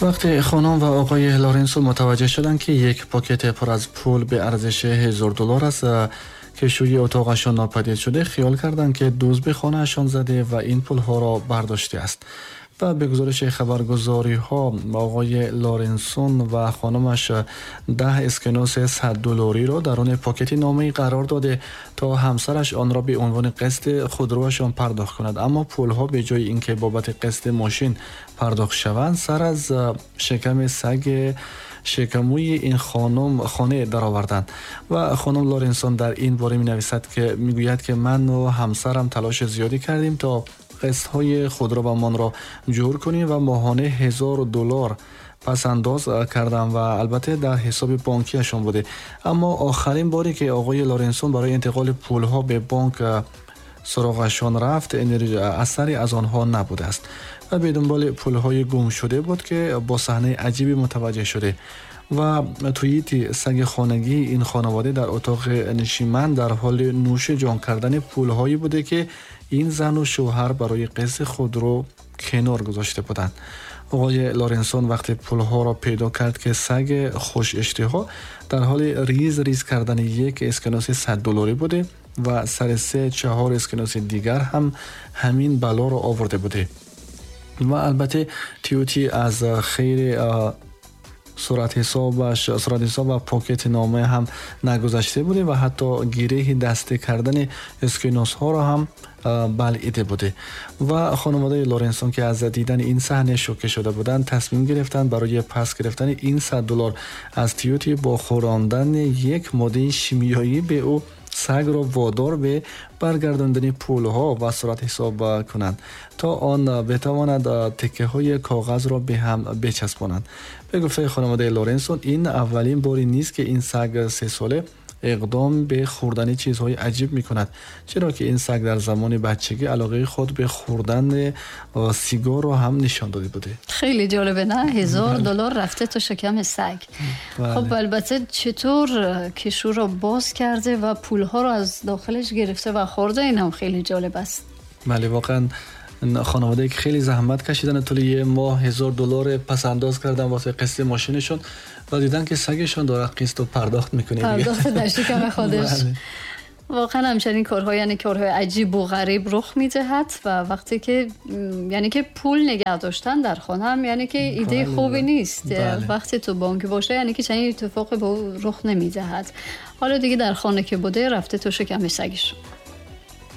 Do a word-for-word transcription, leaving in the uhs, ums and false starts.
وقتی خانم و آقای لارنسون متوجه شدند که یک پاکت پر از پول به ارزش هزار دلار از کشوی اتاقشان ناپدید شده، خیال کردند که دزد به خانه‌شان زده و این پولها را برداشته است. و به گزارش خبرگزاری ها، آقای لارنسون و خانمش ده اسکناس صد دلاری را درون پاکت نامه‌ای قرار داده تا همسرش آن را به عنوان قسط خودروشان پرداخت کند. اما پولها به جای اینکه بابت قسط ماشین پرداخت شوند، سر از شکم سگ شکموی این خانم خانه درآوردند. و خانم لارنسون در این باره می نویسد که می گوید که من و همسرم تلاش زیادی کردیم تا قسط های خودرومان را جور کنیم و ماهانه هزار دلار پس انداز کردم و البته در حساب بانکیشان بوده. اما آخرین باری که آقای لارنسون برای انتقال پولها به بانک سراغشان رفت، اثری از آنها نبوده است و به دنبال پولهای گم شده بود که با صحنه عجیبی متوجه شده و توییتی سگ خانگی این خانواده در اتاق نشیمن در حال نوش جان کردن پولهایی بوده که این زن و شوهر برای قسط خودرو کنار گذاشته بودند. آقای لارنسون وقتی پولها را پیدا کرد که سگ خوش اشتها در حال ریز ریز کردن یک اسکناس صد دلاری بوده و سر سه چهار اسکناس دیگر هم همین بلا را آورده بوده. و البته تیوتی از خیر صورت حسابش صورت حساب و پاکت نامه هم نگذشته بوده و حتی گیره دسته کردن اسکناس ها را هم بلعیده بوده. و خانواده لارنسون که از دیدن این صحنه شوکه شده بودند، تصمیم گرفتند برای پس گرفتن این صد دلار از تیوتی با خوراندن یک ماده شیمیایی به او سگ را وادار به برگرداندن پولها و صورت حساب کنند تا آن بتواند تکه های کاغذ را به هم بچسبانند. به گفته خانواده لارنسون این اولین باری نیست که این سگ سه ساله اقدام به خوردن چیزهای عجیب می کند، چرا که این سگ در زمان بچگی علاقه خود به خوردن سیگار را هم نشان داده بوده. خیلی جالبه نه؟ هزار دلار رفته تو شکم سگ. بله. خب البته چطور کشو را باز کرده و پولها را از داخلش گرفته و خورده، این هم خیلی جالب است. بله واقعا خانواده که خیلی زحمت کشیدن طول یه ماه هزار دلار پس انداز کردن واسه قسط ماشینشون و دیدن که سگشون داره قسط رو پرداخت میکنه، پرداخت در شکم خودش. بله. واقعا همچنین کارهای، یعنی کارهای عجیب و غریب رخ میدهد و وقتی که یعنی که پول نگه داشتن در خانه هم یعنی که ایده بله. خوبی نیست. بله. وقتی تو بانک باشه یعنی که چنین اتفاقی به رخ نمیدهد. حالا دیگه در خانه که بوده رفته تو شکم سگش.